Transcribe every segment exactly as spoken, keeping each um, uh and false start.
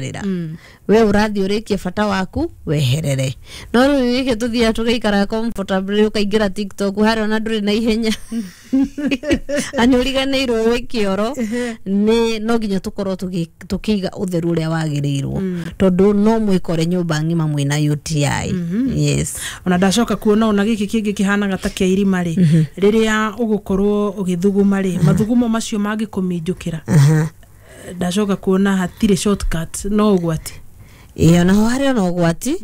Rĩra we ũrathiĩ ũrĩkie bata waku weherere, no rĩu gĩkĩ tũthiaga tũgaikara comfortably, ũkaingĩra TikTok harĩa ona ndũrĩ na ihenya na nĩ ũriganĩirwo wĩ kĩoro. Nĩ no nginya tũkorwo tũgĩ- tũkĩiga ũtheru ũrĩa wagĩrĩirwo, tondũ no mwĩkore nyũmba ng'ima mwĩna U T I, yes. Ona ndacoka kuona ona gĩkĩ kĩngĩ kĩhanaga ta kĩa irima rĩ, rĩrĩa ũgũkorwo ũgĩthuguma rĩ, mathugumo macio mangĩkũminjũkĩra. Aha. Ndacoka kuona hatirĩ shortcut, no ũgwati. Ĩyo naho harĩ ona ũgwati,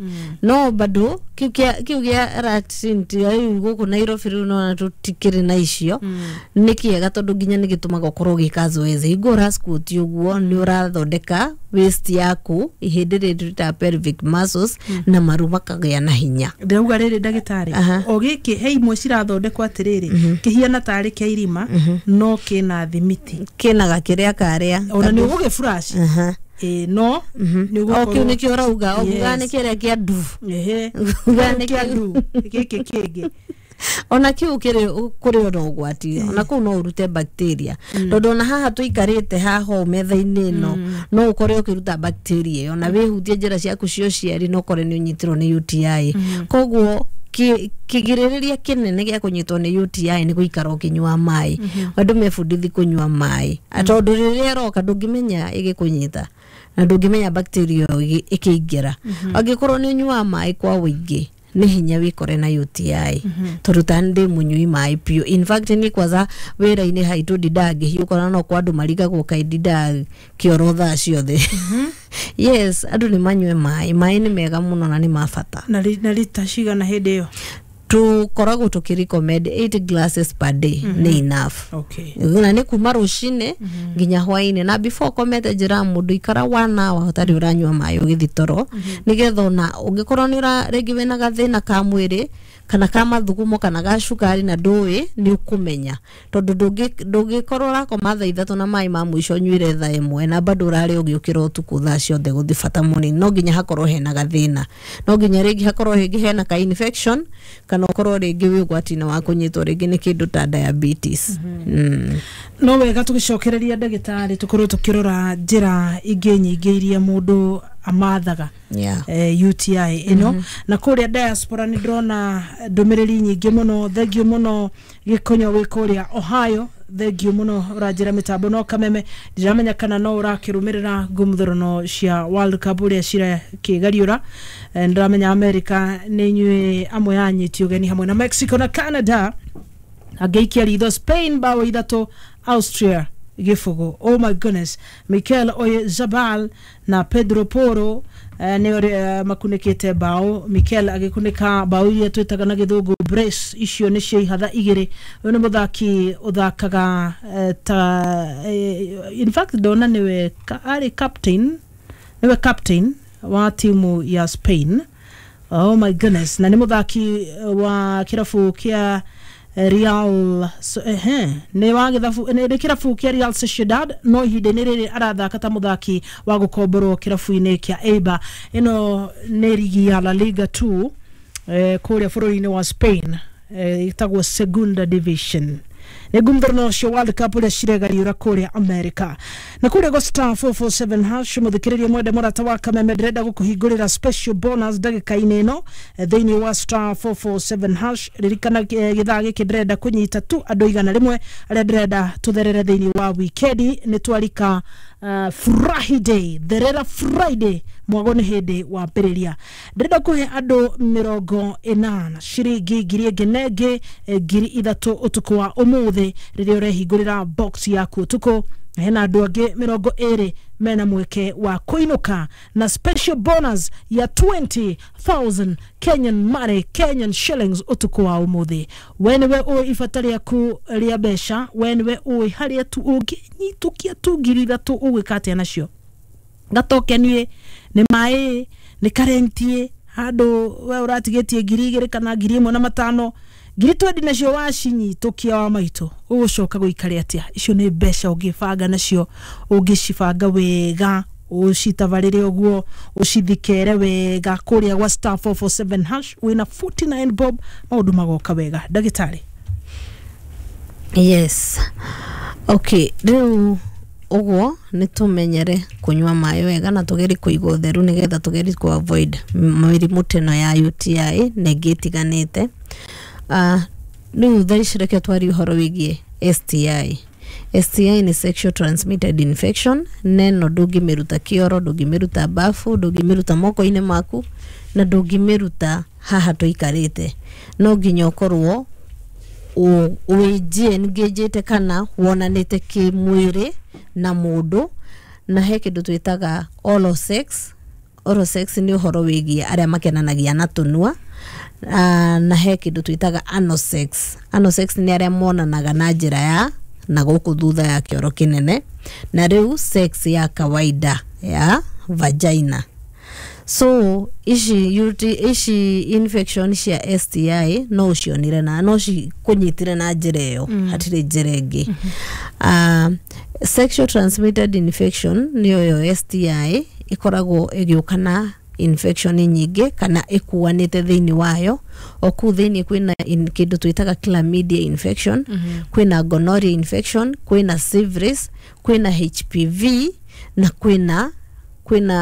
no bado kĩu kĩa kĩu gĩa latrine rĩu gũkũ Nairobi rĩu nona tũtikĩrĩ na icio. Nĩ kĩega tondũ nginya nĩ gĩtũmaga ũkorwo ũgĩka zoezi. Hingo ũra squat ũguo, nĩ ũrathondeka waist yaku, ihĩndĩ rĩrĩ twĩtaga pelvic muscles, na maru makagĩa na hinya. Ndĩrauga rĩrĩ, ndagĩtarĩ, Aha. o gĩkĩ he imwe cirathondekwo atĩrĩrĩ, kĩhiana tarĩ kĩa irima no kĩna thimiti. Kĩna gakĩrĩa karĩa. Ona nĩ ũgũgĩ flush. Aha. Ĩ no nĩ O kĩu nĩkĩo ũrauga, ũguga nĩ Yes. kĩrĩa kĩa ndu. Ehe. Uga nĩ kĩa kĩu. Ndu gĩkĩ kĩngĩ. Ona kiu kĩrĩ kũrĩ ona ũgwati, ona kũu no ũrute bacteria, tondũ ona haha tũikarĩte haha ũũ metha-inĩ ĩno, no ũkore ũkĩruta bacteria ĩyo na wĩhutie njĩra ciaku cia ũciari, no ũkore nĩ ũnyitirwo nĩ U T I. Koguo kĩ- kĩgirĩrĩria kĩnene gĩa kũnyitwo nĩ U T I nĩ gũikara ũkĩnyua maĩ. Andũ mebundithi kũnyua maĩ, tondũ rĩrĩa ĩroka ndũngĩmenya ĩgĩkũnyita na ndũngĩmenya bacteria ĩyo ĩgĩ- ĩkĩingĩra. Angĩkorwo nĩ ũnyuaga maĩ kwa ũingĩ, nĩ hinya wĩkore na U T I, tondũ ta ndĩ mũnyui maĩ biũ. In fact, niĩ kwanza wĩra-inĩ haitũ ndindaga ngĩhiũka no kwa andũ marigagwo kaĩ ndindaga kĩoro thaa ciothe. Yes, andũ nĩ manyue maĩ. Maĩ nĩ mega mũno na nĩ ma bata. Na ri- na rita cigana hĩndĩ ĩyo? Tũkoragwo tũkĩ recommend eight glasses per day nĩ enough. Okay na nĩ kuma rũcinĩ nginya hwainĩ, na before komete njĩra mũndũ ikara one hour ũtarĩ ũranyua maĩ ũgĩthi toro, nĩgetha ona ũngĩkorwo nĩ ũra rĩngĩ wĩna gathĩna ka mwĩrĩ kana ka mathugumo kana ga cukari na ndũĩ, nĩ ũkũmenya, tondũ ndũngĩ- ndũngĩkorwo ũrakoma thaa ithatũ na maĩ ma mũico ũnyuire thaa ĩmwe na bado ũrarĩ ũgĩũkĩra ũtukũ thaa ciothe gũthiĩ bata mũnini. No nginya hakorwo hena gathĩna, no nginya rĩngĩ hakorwo rĩngĩ hena ka infection, kana ũkorwo rĩngĩ wĩ ũgwati-inĩ wa kũnyitwo rĩngĩ nĩ kĩndũ ta diabetes mm. No wega tũgĩcokereria, ndagĩtarĩ, tũkorwo tũkĩrora njĩra ingĩ nyingĩ iria mũndũ amathaga yeah. eh, U T I ĩno. Na kũrĩa diaspora nĩ ndĩrona ndũmĩrĩri nyingĩ mũno. Thengiũ mũno Gĩkonyo wĩ kũrĩa Ohio, thengiũ mũno. Ũranjĩra mĩtambo no kameme, ndiramenya kana no ũrakĩrũmĩrĩra ngũmũthũrano cia World Cup ũrĩa cirakĩgariũra. Eh, ndĩramenya America nĩ inyuĩ amwe anyiti ũgeni hamwe na Mexico na Canada. Angĩikia ritho, Spain bao ithatũ, Austria gĩbũgũ. Oh my goodness, Mikel Oyarzabal na Pedro Poro eh, nĩ ũrĩa makunĩkĩte bao. Mikel agĩkunĩka bao iria twĩtaga na gĩthũngũ brace, icio nĩ cia ihatha igĩrĩ. Ũyũ nĩ mũthaki ũthakaga eh, ta eh, in fact ndona nĩwe ka- arĩ captain, nĩwe captain wa timu ya Spain. Oh my goodness, na nĩ mũthaki wa kĩrabu kĩa Real so, ehe, nĩ wa gĩthabu nĩ nĩ kĩrabu kĩa Real Sociedad, no ihinda-inĩ rĩrĩ arathaka ta mũthaki wa gũkomborwo kĩrabu-inĩ kĩa Eibar. Ĩno nĩ rigi ya La Liga two eh, kũrĩa bũrũri-inĩ wa Spain, eh, ĩtagwo Segunda Division. Nĩ ngumthorano cio World Cup ũrĩa ciregariũra kũrĩa America na kũrĩa go star four four seven hash. Mũthikĩrĩria mwende, mũrata wa kameme, ndĩrenda gũkũhingũrĩra special bonus ndagĩka-inĩ ĩno eh, thĩinĩ wa star four four seven hash. Ririkana eh, gĩthaa gĩkĩ ndĩrenda kũnyita tu andũ igana rĩmwe arĩa ndĩrenda tũtherere thĩinĩ wa wikendi. Nĩ twarika uh, Friday, therera Friday, mwago nĩ hĩndĩ wambĩrĩria. Ndĩrenda kũhe andũ mĩrongo ĩnana ciringi ngiri ĩngĩ na ĩngĩ eh, ngiri ithatũ ũtukũ wa ũmũthĩ rĩrĩa ũrehingũrĩra box yaku ũtukũ. Hena andũ angĩ mĩrongo ĩrĩ mena mweke wa kũinũka na special bonus ya twenty thousand Kenyan money, Kenyan shillings, ũtukũ wa ũmũthĩ. We nĩwe ũĩ ibata rĩaku rĩa mbeca, we nĩwe ũĩ harĩa tu ũngĩnyitũkia tu ngiri ithatũ ũgwĩka atĩa nacio. Gatokenie nĩ maĩ, nĩ karenti, handũ we ũratigĩtie ngiri igĩrĩ kana ngiri ĩmwe na matano, ngiri twendi nacio wacinyitũkia wa maitũ, ũgũcoka gũikare atĩa? Icio nĩ mbeca ũngĩbanga nacio, ũngĩcibanga wega, ũcitabarĩre ũguo, ũcithikere wega kũrĩa gwa star four four seven hash wĩna forty-nine bob, maũndũ magoka wega, ndagĩtarĩ. Yes, okay, rĩu Ũguo nĩ tũmenyere kũnyua maĩ wega na tũgerie kũiga ũtheru nĩgetha tũgerie kũ avoid mĩrimũ ta ĩno ya U T I na ĩngĩ ĩtiganĩte. uh, rĩu thaa ici reke twarie ũhoro wĩgiĩ S T I. S T I nĩ sexual transmitted infection, na ĩno ndũngĩmĩruta kĩoro, ndũngĩmĩruta bafu, ndũngĩmĩruta moko-inĩ maku na ndũngĩmĩruta haha tũikarĩte. No nginya ũkorwo wĩ engaged kana wonanĩte kĩmwĩrĩ na mũndũ. Na he kĩndũ twĩtaga oral sex. Oral sex nĩ ũhoro wĩgiĩ arĩa makenanagia na tũnua. uh, na he kĩndũ twĩtaga anal sex. Anal sex nĩ arĩa monanaga na njĩra ya na gũkũ thutha ya kĩoro kĩnene, na rĩu sex ya kawaida ya vagina. So ici U T, ici infection cia S T I no ũcionire na no cikũnyitire na njĩra ĩyo mm. Hatirĩ njĩra ĩngĩ mm -hmm. uh, sexual transmitted infection nĩyo yo S T I ĩkoragwo ĩgĩũka na infection nyingĩ kana ĩkuanĩte thĩinĩ wayo. O kũu thĩinĩ kwĩna in- kĩndũ twĩtaga chlamydia infection mm -hmm. kwĩna gonorrhea infection, kwĩna syphilis, kwĩna H P V na kwĩna kwĩna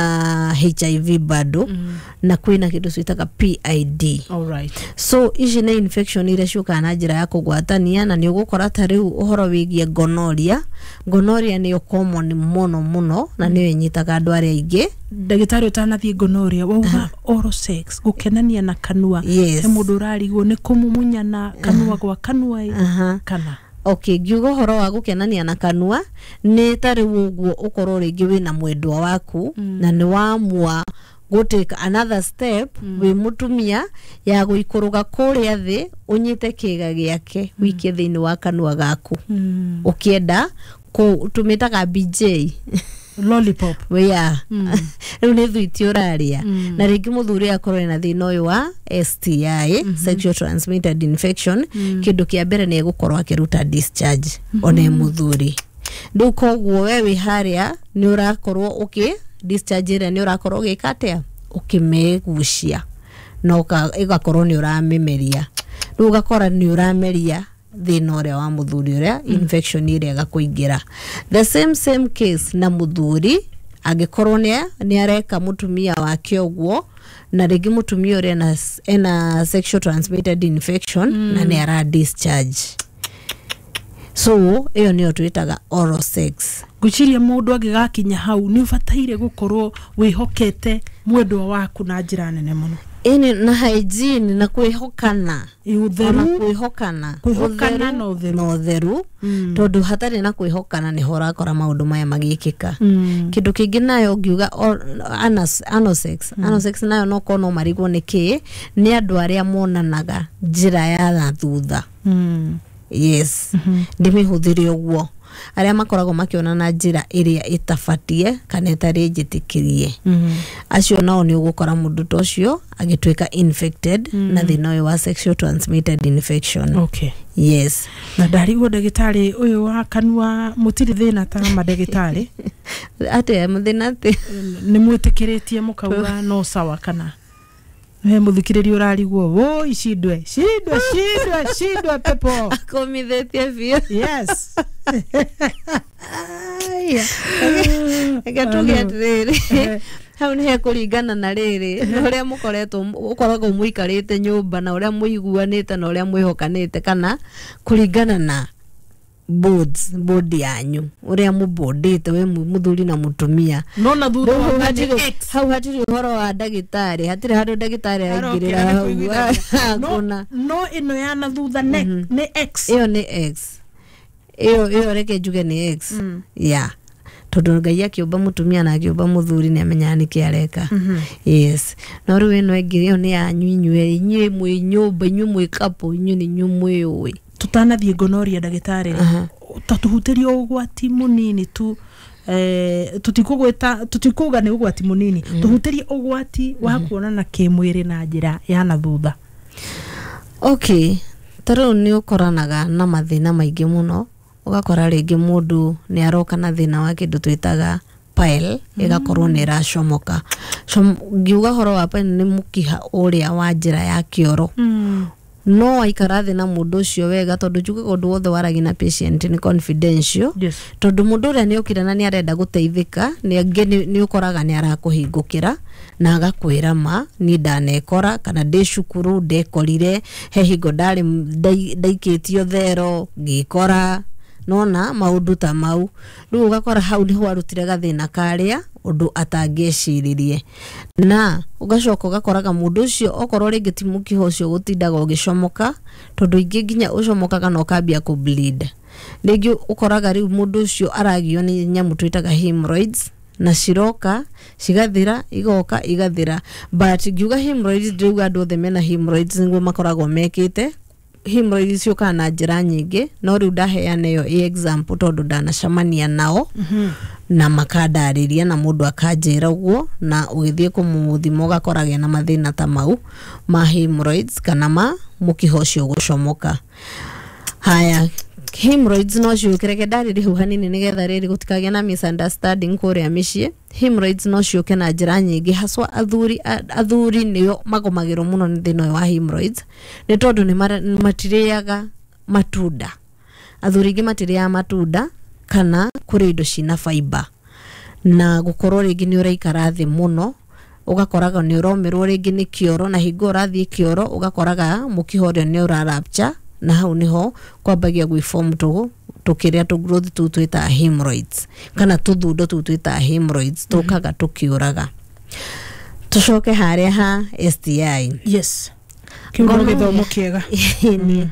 H I V bado mm. na kwĩna kĩndũ twĩtaga P I D. Alright. So ici nĩ infection iria ciũkaga na njĩra ya kũgwatania, na nĩ ũgũkora ta rĩu ũhoro wĩgiĩ gonorrhea. Gonorrhea nĩyo common mũno mũno na nĩyo ĩnyitaga andũ arĩa aingĩ. Ndagĩtarĩ, ũtanathiĩ gonorrhea, wauga oral sex, gũkenania na kanua. Yes. He mũndũ ũrarigwo nĩ kũmumunyana kanua gwa kanua ĩ, Aha. kana? Okay, ngiuga ũhoro wa gũkenania na kanua nĩ ta rĩu ũguo ũkorwo rĩngĩ wĩna mwendwa waku mm. na nĩ wamua gũ take another step mm. wĩ mũtumia ya gũikũrũka kũrĩa thĩ, ũnyite kĩga gĩake wĩikie thĩinĩ wa kanua gaku mm. ũkĩenda kũ tũmĩtaga B J. Lollipop. Yeah, rĩu nĩ thwiti ũrarĩa. Na rĩngĩ mũthuri akorwo ena thĩna ũyũ wa S T I, sexual transmitted infection, kĩndũ kĩa mbere nĩ egũkorwo akĩruta discharge ona e mũthuri. Rĩu koguo we wĩ harĩa nĩ ũrakorwo ũkĩ discharge ĩrĩa nĩ ũrakorwo ũgĩka atĩa, ũkĩmĩgucia na ũka- ĩgakorwo nĩ ũramĩmeria. Rĩu ũgakora nĩ ũrameria thĩna ũrĩa wa mũthuri ũrĩa infection ĩrĩa ĩgakũingĩra. The same same case na mũthuri angĩkorwo nĩ nĩ areka mũtumia wake ũguo, na rĩngĩ mũtumia ũrĩa ena, ena sexual transmitted infection mm. na nĩ ara discharge. So ĩyo nĩyo twĩtaga oral sex. Ngwĩciria mũndũ angĩgakinya hau nĩ ũbataire gũkorwo wĩhokete mwendwa waku na njĩra nene mũno. Ĩni, na hygiene na kwĩhokana. Ĩ, Ona ũtheru. Kwĩhokana. Kwĩhokana na ũtheru. Na ũtheru, tondũ hatarĩ na kwĩhokana nĩho ũrakora maũndũ maya magĩkĩka. Mm. Kĩndũ kĩngĩ nayo ngiuga or- anas- anal sex. Anal sex nayo no korwo no marigwo nĩ kĩ. Nĩ andũ arĩa monanaga njĩra ya na thutha. Mm. Yes, ndĩmĩhũthĩre ũguo, arĩa makoragwo makĩonana njĩra ĩrĩa ĩtabatie kana ĩtarĩ njĩtĩkĩrie. Mm. Acio nao nĩ ũgũkora mũndũ ta ũcio agĩtuĩka infected na thĩna ũyũ wa sexual transmitted infection. Okay. Yes. Na ndarigwo, ndagĩtarĩ, ũyũ wa kanua mũtirĩ thĩna ta mandagĩtarĩ? Atĩa mũthĩna atĩ? Nĩ mwĩtĩkĩrĩtie mũkauga no sawa, kana he mũthikĩrĩria ũrarigwo, woi, shindwe shindwe shindwe shindwe pepo? Akũmithĩtie biũ. Yes. Reke tuge atĩrĩrĩ, hau nĩ hekũringana na rĩrĩ na ũrĩa mũkoretwo, ũkoragwo mũikarĩte nyũmba na ũrĩa mũiguanĩte na ũrĩa mwĩhokanĩte, kana kũringana na boards board yanyu, ũrĩa mũbondĩte we mũthuri na mũtumia. No na thutha Rĩu wa hau nĩ hatirĩ X. Hau hatirĩ ũhoro wa ndagĩtarĩ, hatirĩ handũ ndagĩtarĩ araingĩrĩra Arokĩra nĩ hau. kũiguithania. No- Hakuna. No ĩno ya na thutha nĩ nĩ X. Ĩyo nĩ X. Ĩyo ĩyo reke njuge nĩ X ya tondũ Ngai akĩũmba mũtumia na akĩũmba mũthuri nĩ amenyaga nĩkĩ areka. Yes, no rĩu ĩno ĩngĩ, ĩyo nĩ yanyu inyuĩ, inyuĩ mwĩ nyũmba, inyuĩ mwĩ couple, inyuĩ nĩ inyuĩ mwĩũĩ. Tutanathiĩ gonorrhea, ndagĩtarĩ, Aha. ta tũhutĩrie ũgwati mũnini tu, eh, tutikũgwĩta, tutikuga nĩ ũgwati mũnini, tũhutĩrie ũgwati wa kuonana kĩmwĩrĩ na njĩra ya na thutha. Okay, ta rĩu nĩ ũkoranaga na mathĩna maingĩ mũno. Ũgakora rĩngĩ mũndũ nĩ aroka na thĩna wa kĩndũ twĩtaga pile, ĩgakorwo nĩ ĩracomoka. Ngiuga ũhoro wa pile, nĩ mũkiha ũrĩa wa njĩra ya kĩoro. mm. No waikara thĩ na mũndũ ũcio wega, tondũ njugaga ũndũ wothe waragia na patient nĩ confidential. Yes. Tondũ mũndũ ũrĩa nĩ okire na nĩ arenda gũteithĩka, nĩ angĩ nĩ nĩ ũkoraga nĩ arakũhingũkĩra na agakwĩra, "Ma niĩ ndanekora kana ndĩ cukuru ndekorire he hingo ndarĩ ndai- ndaikĩtio thero ngĩkora nona maũndũ ta mau." Rĩu ũgakora hau nĩho arutire gathĩna karĩa ũndũ atangĩeciririe, na ũgacoka ũgakoraga mũndũ ũcio okorwo rĩngĩ ti mũkiha ũcio gũtindaga ũgĩcomoka, tondũ ingĩ nginya ũcomokaga na ũkambia kũ bleed rĩngĩ, ũkoraga rĩu mũndũ ũcio aragio nĩ nyamũ twĩtaga hemorrhoids, na ciroka cigathira, igoka igathira. But ngiuga hemorrhoids, ndĩrauga andũ othe mena hemorrhoids nĩguo makoragwo mekĩte. Hemorrhoids ciũkaga na njĩra nyingĩ, no rĩu ndaheana ĩyo ĩ example tondũ ndanacemania nao na makandarĩria na mũndũ akanjĩra ũguo, na ũgĩthiĩ kũmũthima ũgakora na mathĩna ta mau ma hemorrhoids kana ma mũkiha ũcio gũcomoka. Haya, hemorrhoids no ciũke, reke ndarĩrie hau hanini nĩgetha rĩrĩ gũtikagĩe na misunderstanding kũrĩa mĩciĩ. Hemorrhoids no ciũke na njĩra nyingĩ, haswa athuri. Athuri nĩo magomagĩrwo mũno nĩ thĩna ũyũ wa hemorrhoids, nĩ tondũ nĩ mara- matirĩaga matunda. Athuri aingĩ matirĩaga matunda kana kũrĩa indo cina fiber, na gũkorwo rĩngĩ nĩ ũraikara thĩ mũno, ũgakoraga nĩ ũromĩrwo rĩngĩ nĩ kĩoro, na hingo ũrathiĩ kĩoro ũgakoraga mũkiha ũrĩa nĩ ũra rupture, na hau nĩho kwambagia gwĩform tũ tũkĩrĩa tũ growth tũu twĩtaga hemorrhoids, kana tũthundo tũu twĩtaga hemorrhoids tũkaga tũkĩũraga. Tũcoke harĩa ha S T I. Yes, kĩu no gĩthomo kĩega. Ĩni.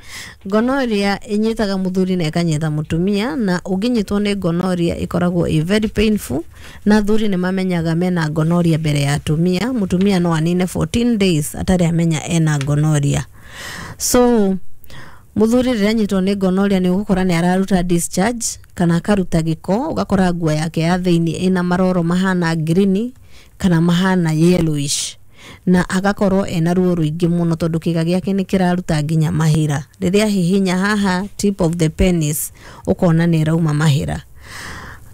Gonorrhea ĩnyitaga mũthuri na ĩkanyita mũtumia, na ũngĩnyitwo nĩ gonorrhea ĩkoragwo ĩ very painful, na athuri nĩ mamenyaga mena gonorrhea mbere ya atumia. Mũtumia no anine fourteen days atarĩ amenya ena gonorrhea. So mũthuri rĩrĩa anyitwo nĩ gonorrhea, nĩ ũgũkora nĩ araruta discharge kana akaruta gĩko, ũgakora nguo yake ya thĩinĩ ĩna maroro mahana green kana mahana yellowish, na agakorwo ena ruo rũingĩ mũno tondũ kĩga gĩake nĩ kĩraruta nginya mahĩra. Rĩrĩa hihinya haha tip of the penis, ũkona nĩ ĩrauma mahĩra.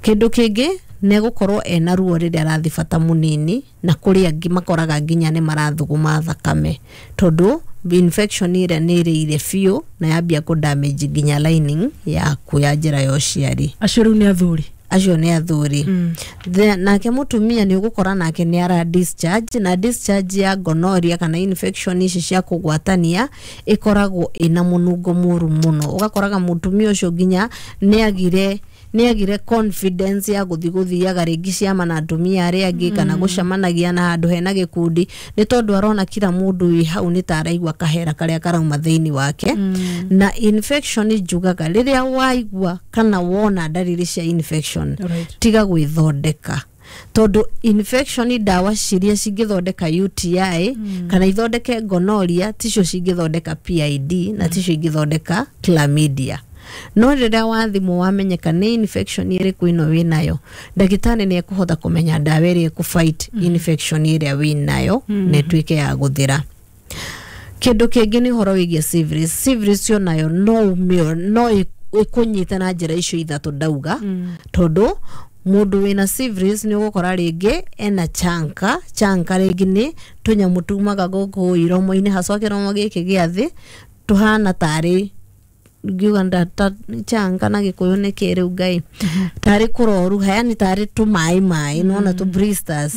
Kĩndũ kĩngĩ nĩ gũkorwo ena ruo rĩrĩa arathiĩ bata mũnini, na kũrĩ angĩ makoraga nginya nĩ marathuguma thakame, tondũ infection ĩrĩa nĩ ĩrĩire biũ na yambia kũ damage nginya lining yaku ya njĩra ya ũciari. Acio rĩu nĩ athuri. Acio nĩ athuri. The- nake mũtumia nĩ ũgũkora nake nĩ ara discharge, na discharge ya gonorrhea kana infection ici cia kũgwatania ĩkoragwo ĩna mũnungo mũru mũno. Ũgakoraga mũtumia ũcio nginya nĩ agire nĩ agire confidence ya gũthiĩ gũthiaga rĩngĩ ciama na atumia arĩa angĩ, kana gũcemanagia na handũ hena gĩkundi, nĩ tondũ arona kila mũndũ wĩ hau nĩ ta araigua kahera karĩa karauma thĩinĩ wake. Na infection, njugaga rĩrĩa waigua kana wona ndariri cia infection, Right. tiga gwĩthondeka, tondũ infection, ndawa ciria cingĩthondeka U T I mm. kana ithondeke gonorrhea ticio cingĩthondeka P I D na ticio ingĩthondeka chlamydia. No rĩrĩa wathimwo wamenyeka nĩ infection ĩrĩkũ ĩno wĩnayo, ndagĩtarĩ nĩ ekũhota kũmenya ndawa ĩrĩa ĩkũ fight infection ĩrĩa wĩnayo na ĩtuĩke ya gũthira. Kĩndũ kĩngĩ nĩ ũhoro wĩgiĩ syphilis. Syphilis onayo no ũmĩo no ĩ- ĩkũnyite na njĩra icio ithatũ ndauga, tondũ mũndũ wĩna syphilis nĩ ũgũkora rĩngĩ ena chanka. Chanka rĩngĩ nĩ tũnyamũ tumaga gũkũ iromo-inĩ, haswa kĩromo gĩkĩ gĩa thĩ, tũhana tarĩ, ngiuga ndata chanka na gĩkũyũ nĩ kĩ rĩu ngai, tarĩ kũroruha, yani tarĩ tũmaĩ maĩ, nona tũ blisters.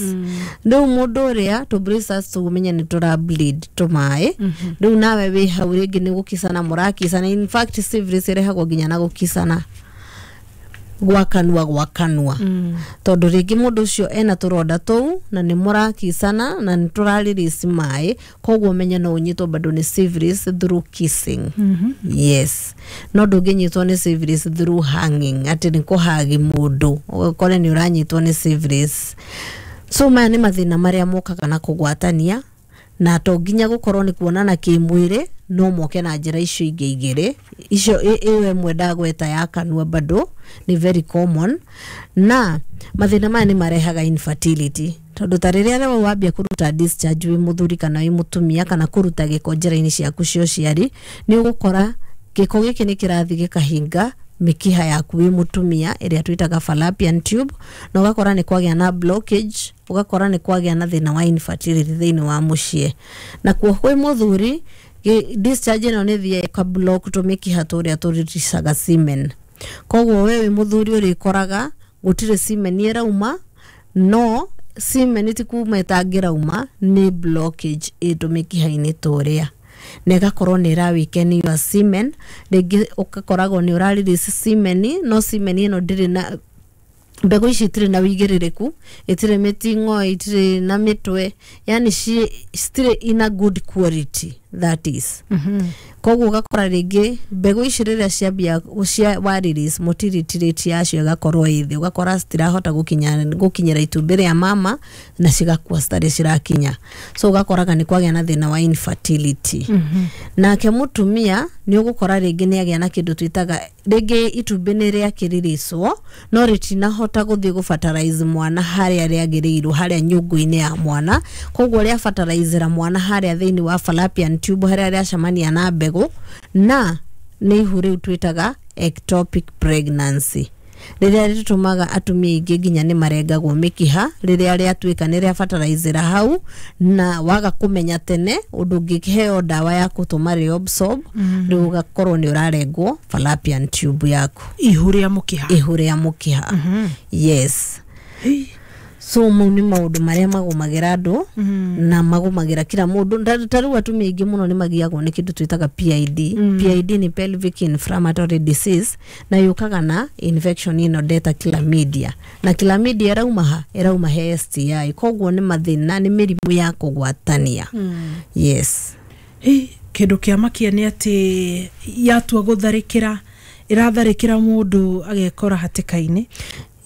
Rĩu mũndũ ũrĩa tũ blisters tũmenye nĩ tũra bleed tũmaĩ, rĩu nawe wĩ hau rĩngĩ nĩ gũkicana mũrakicana. In fact, syphilis ĩrehagwo nginya na gũkicana gwa kanua gwa kanua, tondũ rĩngĩ mũndũ ũcio ena tũronda tũu na nĩ mũrakicana na nĩ tũrarelease maĩ, koguo menye no ũnyitwo bado nĩ syphilis through kissing. Yes, no ndũngĩnyitwo nĩ syphilis through hanging, atĩ nĩ kũhagi mũndũ ũgakore nĩ ũranyitwo nĩ syphilis. So maya nĩ mathĩna marĩa mokaga na kũgwatania, na to nginya gũkorwo nĩ kuonana kĩmwĩrĩ, no moke na njĩra icio ingĩ igĩrĩ icio. ĩ- ĩyo ĩmwe ndagweta ya kanua bado nĩ very common, na mathĩna maya nĩ marehaga infertility, tondũ ta rĩrĩa rĩu wambia kũruta discharge wĩ mũthuri kana wĩ mũtumia, kana kũruta gĩko njĩra-inĩ ciaku cia ũciari, nĩ ũgũkora gĩko gĩkĩ nĩ kĩrathiĩ gĩkahinga mĩkiha yaku wĩ mũtumia ĩrĩa twĩtaga fallopian tube, na ũgakora nĩ kwagĩa na blockage, ũgakora nĩ kwagĩa na thĩna wa infertility thĩinĩ wa mũciĩ. Na kuo kwĩ mũthuri Gĩ- discharge ĩno nĩ ĩthiaga ĩka block tũmĩkiha tũrĩa tũriricaga semen. Koguo we wĩ mũthuri ũrĩkoraga gũtirĩ semen ĩrauma, no semen ti kuma ĩtangĩrauma, nĩ blockage ĩ tũmĩkiha-inĩ tũrĩa, na ĩgakorwo nĩ ĩra weaken your semen. Rĩngĩ ũgakoragwo nĩ ũra release semen, no semen ĩno ndĩrĩ na mbegũ ici, itirĩ na wĩigĩrĩrĩku, itirĩ mĩting'oe, itirĩ na mĩtwe, yani ci citirĩ in a good quality, that is. Koguo ũgakora rĩngĩ mbegũ ici rĩrĩa ciambia cia wa release, motility rate yacio ĩgakorwo ĩ thĩ, ũgakora citirahota gũkinya gũkinyĩra itumbĩ rĩa mama na cigakua citarĩ cirakinya. So ũgakoraga nĩ kwagĩa na thĩna wa infertility. Nake mũtumia nĩ ũgũkora rĩngĩ nĩ agĩa na kĩndũ twĩtaga rĩngĩ itumbĩ nĩ rĩakĩrĩrĩcwo no rĩtinahota gũthiĩ gũbatarize mwana harĩa rĩagĩrĩirwo, harĩa nyũngũ-inĩ ya mwana. Koguo rĩabatarizĩra mwana harĩa thĩinĩ wa fallopian tube, harĩa rĩacemania na mbegũ, na nĩ ihu rĩu twĩtaga ectopic pregnancy, rĩrĩa rĩtũmaga atumia aingĩ nginya nĩ marengagwo mĩkiha rĩrĩa rĩatuĩka nĩ rĩabatarizĩra hau, na waga kũmenya tene ũndũ ũngĩheo ndawa ya gũtũma reabsorb, rĩu ũgakorwo nĩ ũrarengwo fallopian tube yaku. Ihu rĩa mũkiha. Ihu rĩa mũkiha, yes. So mau nĩ maũndũ marĩa magũmagĩra andũ na magũmagĩra kila mũndũ. Ta- ta rĩu atumia aingĩ mũno nĩ magiagwo nĩ kĩndũ twĩtaga P I D. P I D nĩ pelvic inflammatory disease, na yũkaga na infection ĩno ndeta chlamydia, na chlamydia ĩrauma ha? Ĩrauma he S T I. Koguo nĩ mathĩna, nĩ mĩrimũ ya kũgwatania, yes. Hĩ, kĩndũ kĩa makia nĩ atĩ yatua gũtharĩkĩra, ĩratharĩkĩra mũndũ agekora hatĩka-inĩ.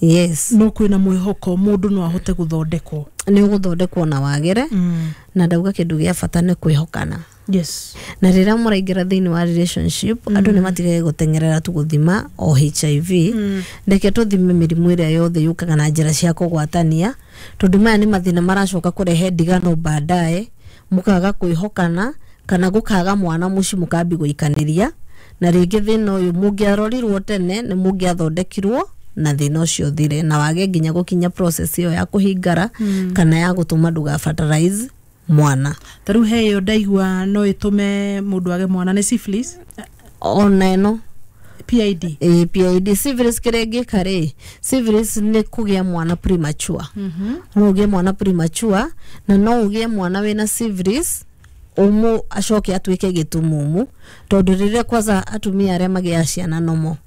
Yes. No kwĩna mwĩhoko mũndũ no ahote gũthondekwo? Nĩ ũgũthondekwo na wagĩre, na ndauga kĩndũ gĩa bata nĩ kwĩhokana. Yes na rĩrĩa mũraingĩra thĩinĩ wa relationship, andũ nĩ matigage gũteng'erera tu gũthima o H I V. Reke tũthime mĩrimũ ĩrĩa yothe yũkaga na njĩra cia kũgwatania, tondũ maya nĩ mathĩna maracoka kũrehe ndigano baadaye, mũkaga kwĩhokana kana gũkaga mwana mũciĩ, mũkambi gũikanĩria, na rĩngĩ thĩna ũyũ mũngĩarorirwo tene nĩ mũngĩathondekirwo na thĩna ũcio ũthire, na wage nginya gũkinya process ĩyo ya kũhingara kana ya gũtũma ndũgafertilize mwana. Ta rĩu he ĩyo ndaigua no ĩtũme mũndũ age mwana, nĩ syphilis? Ona ĩno. P I D. eh, P I D, syphilis, kĩrĩa ĩngĩka rĩ, syphilis nĩ kũgĩa mwana premature. No ũgĩe mwana premature, na no ũgĩe mwana wĩna syphilis ũmũ acoke atuĩke gĩtumumu, tondũ rĩrĩa kwanza atumia arĩa magĩaga ciana nomo,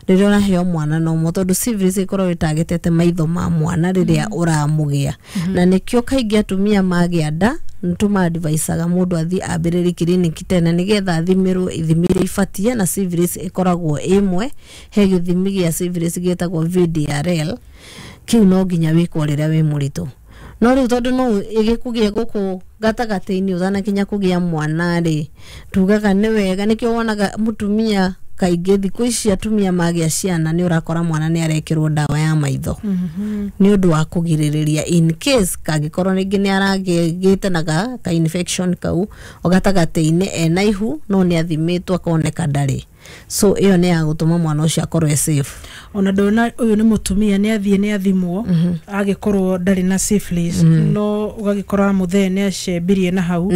rĩrĩa ũraheo mwana nomo, tondũ syphilis ĩkoragwo ĩtagĩtete maitho ma mwana rĩrĩa ũramũgĩa, na nĩkĩo kaingĩ atumia magĩa nda nĩtũmadvicaga mũndũ athiĩ ambĩrĩrie kiriniki tene nĩgetha athimĩrwo ithimi iria ibatie, na syphilis ĩkoragwo ĩmwe. He gĩthimi gĩa syphilis gĩtagwo V D R L, kĩu no nginya wĩkwo rĩrĩa wĩ mũritũ. No rĩu tondũ no ĩgĩkũgĩe gũkũ gatagatĩ-inĩ ũtanakinya kũgĩa mwana rĩ, tugaga nĩ wega. Nĩkĩo wonaga mũtumia kaingĩ thikũ ici atumia magĩa ciana nĩ ũrakora mwana nĩ arekĩrwo ndawa ya maitho nĩ ũndũ wa kũgirĩrĩria in case kangĩkorwo rĩngĩ nĩ aragĩte na ga ka infection kau o gatagatĩ-inĩ ena ihu, no nĩ athimĩtwo akoneka ndarĩ. So ĩyo nĩ ya gũtũma mwana ũcio akorwo e safe. Ona ndona ũyũ nĩ mũtumia, nĩ athiĩ nĩ athimwo, agĩkorwo ndarĩ na syphilis, no ũgagĩkora mũthee nĩ acembirie na hau.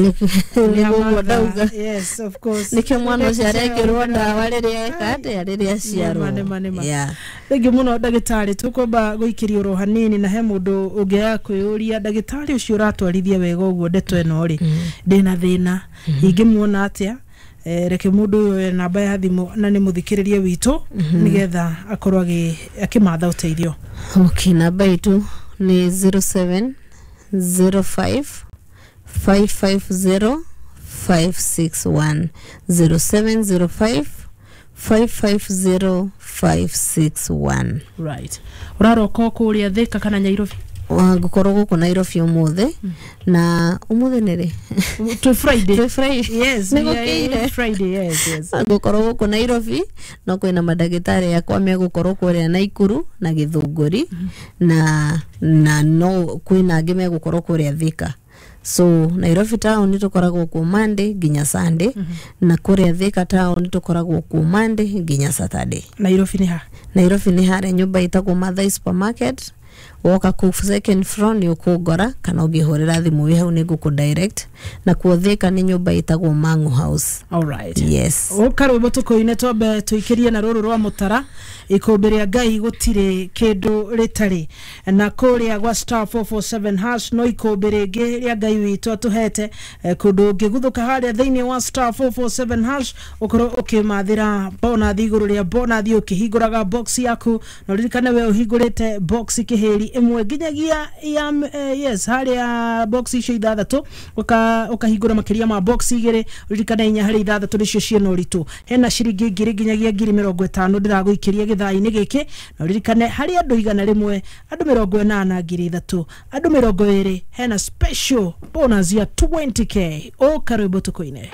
Nĩguo ndauga. Yes, of course. Nĩkĩo mwana ũcio arekĩrwo ndawa rĩrĩa eka atĩa, rĩrĩa aciarwo. Nĩma, nĩma. Yeah. Thengiũ mũno ndagĩtarĩ, tũkwamba gũikĩria oro hanini, na he mũndũ ũngĩaga kwĩyũria, ndagĩtarĩ ũcio ũratwarithia wega ũguo ndeto ĩno rĩ, ndĩna thĩna ingĩmuona atĩa? Eh, reke mũndũ ũyũ oe namba ya thimũ na nĩ mũthikĩrĩrie witũ nĩgetha akorwo agĩ- akĩmatha ũteithio. Okay, namba itũ nĩ zero seven zero five five five zero five six one, zero seven zero five five five zero five six one. Right, ũraroka o kũrĩa Thĩka kana Nyairobi? Ngũkorwo gũkũ Nairobi ũmũthĩ, na ũmũthĩ nĩ rĩ? Twĩ Friday. Twĩ Friday. Yes. Nĩ we are gũkĩire. Friday, yes yes Ngũkorwo gũkũ Nairobi, no kwĩna mandagĩtarĩ akwa megũkorwo kũrĩa Naikuru na Gĩthũngũri, na na no kwĩna angĩ megũkorwo kũrĩa Thika. So Nairobi town tũkoragwo kuo Monday nginya Sunday, na kũrĩa Thika town tũkoragwo kuo Monday nginya Saturday. Nairobi nĩ ha? Nairobi nĩ harĩa nyũmba ĩtagwo Mathai Supermarket. Woka kũu second floor nĩ ũkũngora, kana ũngĩhũrĩra thimũ wĩ hau nĩ ngũkũ direct. Na kuo Thĩka nĩ nyũmba ĩtagwo Mangu House. Alright. Yes. Ũka rwĩmbo tũkũine, twambe tũikĩrie na rũrũ rwa mũtara, ikũmbĩ rĩa Ngai gũtirĩ kĩndũ rĩtarĩ. Na kũrĩa gwa star four four seven hash no ikũmbĩ rĩngĩ rĩa Ngai witũ atũhete. eh, kũndũ ũngĩguthũka harĩa thĩinĩ wa star four four seven hash, ũkorwo ũkĩmathĩra bonathi igũrũ rĩa bonathi ũkĩhingũraga box yaku. Na ũririkane we ũhingũrĩte box kĩhĩri ĩmwe nginyagia ya eh, yes, harĩa box icio ithathatũ, ũka- ũkahingũra makĩria ma box igĩrĩ. Ũririkane inya harĩ ithathatũ nĩcio ciĩna ũritũ. Hena ciringi ngiri nginyagia ngiri mĩrongo ĩtano ndĩragũikĩria gĩthaa-inĩ gĩkĩ. Na ũririkane harĩ andũ igana rĩmwe, andũ mĩrongo ĩnana ngiri ithatũ, andũ mĩrongo ĩrĩ hena special bonus ya twenty k. Ũka rwĩmbo tũkũine.